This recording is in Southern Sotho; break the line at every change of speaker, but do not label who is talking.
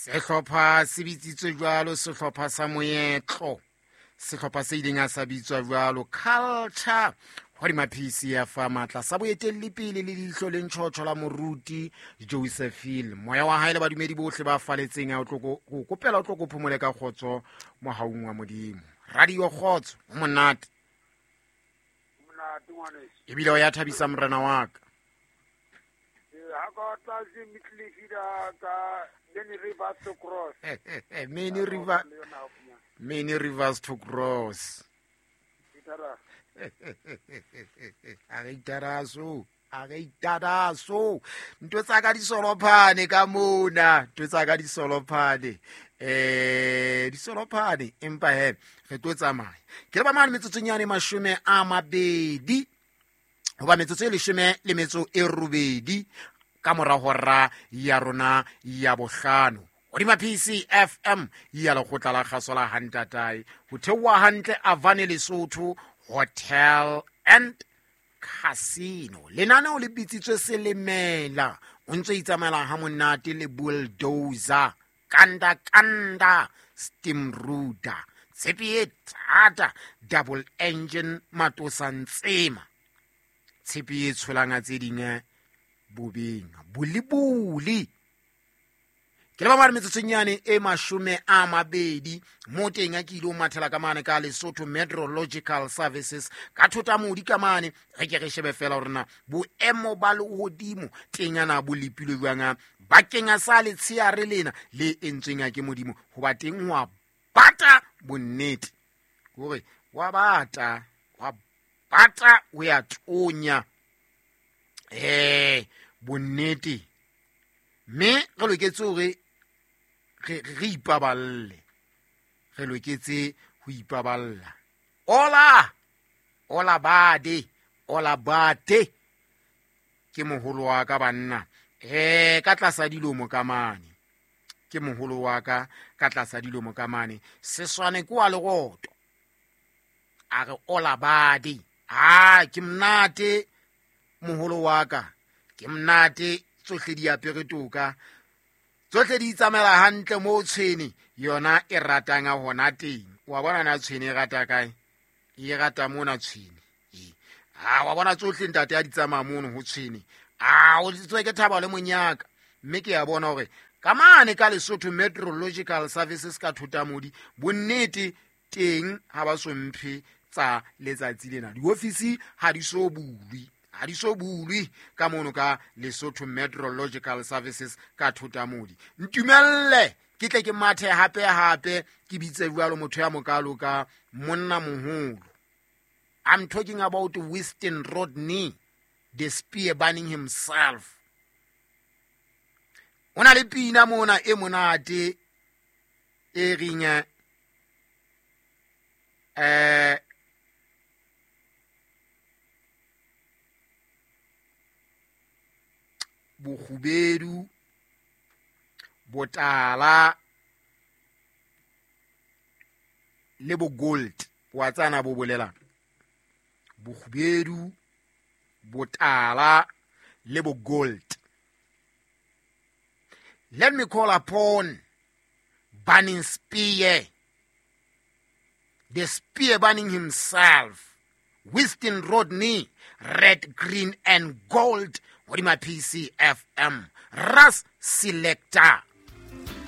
Sehlopha se bitsitswe jwalo sehlopha sa moetlo, sehlopha se ileng a sa bitswa jwalo culture hodima PCF matla sa boetelli pele le leihlo le ntjhotjho la moruti Josephine. Moya wa hae le badumedi bohle ba faletseng a o tlo go kopela o tlo go phomole ka kgotso mohaung wa Modimo. Radio kgotso o monate
Monate ngwaneso.
Ebile o ya thabisa morena wa ka.
Ha ka tlase Mitlefida ka Many Rivers to Cross.
Many river, many rivers to cross. A re itaraso, a re itaraso. Ntho tsa ka di solophane ka mona, ntho tsa ka di solophane. Di solophane empa he re tlo tsamaya. Ke le ba mane metsotsong yane 20 hoba metsotso e 18 ka mora hora ya rona ya bohlano. Hodima PCFM ya lekgotla la kgaso la Hantatae ho theoha hantle Avane Lesotho Hotel and Casino. Lenaneo le bitsitswe Selemela, o ntse itsamaela ha monate le bulldozer kanda kanda steam router tshepe e thata double engine matosa ntsema tshepe e tsholanga tse ding bobeng bolibuli. Ke le ba mane metsotsong yane e 20 mo teng a ke ile ho mathela ka mane ka Lesotho Meteorological Services ka thota modi ka mane re ke re shebe fela hore na boemo ba lehodimo teng ana bo lepilwe jwang bakeng a sa letsheare lena le entsweng a ke Modimo hoba teng ho a bata bonnete hore wa bata wa bata o ya tonya bonnete mme re loketse hore re ipaballe, re loketse ho ipaballa. Ola ola bade ola bate ke moholo wa ka banna ka tlasa dilomo ka mane, ke moholo wa ka ka tlasa dilomo ka mane. Seswane ke wa leroto a re ola bade. A ke monate moholo wa ka, ke monate, tsohle di apere toka, tsohle di itsamaela hantle mo tshwene yona e ratang a hona teng. Wa bona na tshwene e rata kae? E rata mona tshwene. A wa bona tsohle ntate a di tsamaya mono ho tshwene. A o tswe ke thaba le monyaka. Mme ke a bona hore ka mane ka Lesotho Meteorological Services ka Thotamodi bonnete teng ha ba so mphe tsa letsatsi lena. Diofisi ha di so bulwe, ha di so bulwe ka mono ka Lesotho Meteorological Services ka Thotamodi. Ntumelle ke tle ke mathe hape hape ke bitse jwalo motho ya mokalo ka monna moholo. I'm talking about Winston Rodney, the spear burning himself. O na le pina mona e monate e reng, bokgubedu, botala le bo gold. Wa tsana bo bolelang? Bokgubedu, botala le bo gold. Let me call upon Burning Spear, the spear burning himself, Winston Rodney, red, green and gold, hodima PCFM, Ras Selector.